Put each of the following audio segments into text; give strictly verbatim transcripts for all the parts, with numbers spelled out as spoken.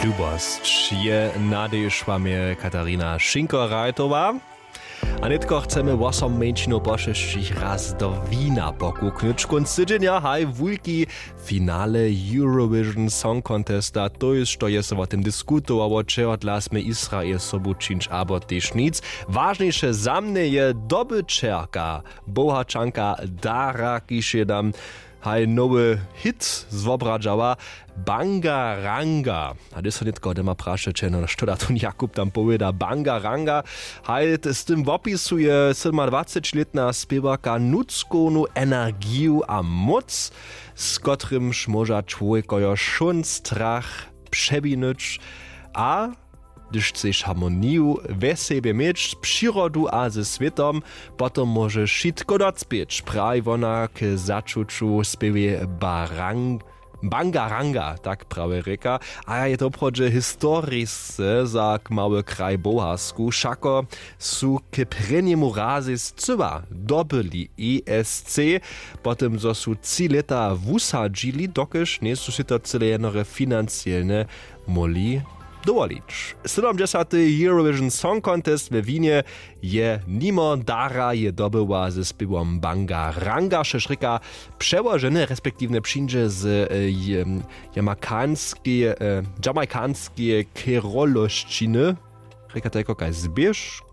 Lubosć je nadejšła mje katarina šinko-rajtowa. A nětko chcemy wosom mjeńšinow po šesćich raz do wina pokuknyć kónc tydźenja haj wulki finale eurovision song contesta to je što je so wo tym diskutowało čehodla smy israel sobu čińć abo tež nic. Wažniše za mnje je dobyćerka bohaćanka dara kiž je nam haj nowy hit zwobradźała. Banga ranga. A hdyž so nětko dema prašeće no što da tón jakub tam powěda banga ranga? Haj z tym wopisuje sydomadwacećilětna spěwarka nutřkownu energiju a móc, z kotrymž móža čłowjekojo wšón strach přewinyć. A hdyž chceš harmoniju we sebje měć přirodu a ze swětom, potom móžeš wšitko docpěć, praji wona k začuću spěwje barang. Banga ranga tak prawje rěka. A je to woprawdźe historisce za k mały kraj boharsku wšako su k prěnjemu razej scyła dobyli esc, po tym zo su tři lěta wusadźili dokelž njejsu sej to cyle jednore financielnje móhli dowolić. Sydomdźesaty eurovision song contest we winje je nimo dara je dobyła ze spěwom banga ranga wšež rěka přełoženy respektiwnje přińdźe z jamajkanskeje kerolosćiny. Rěka tajko kaž zběžk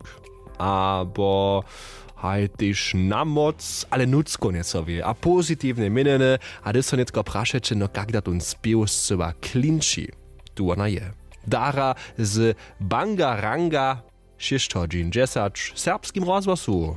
abo haj tež na móc ale nutřko njeco wě a pozitiwnje měnjeny. A hdyž so nětko prašeće no kak da tón spěw scyła klinči, tu wona je dara z banga ranga šěsć hodźin dźesać w serbskim rozhłosu.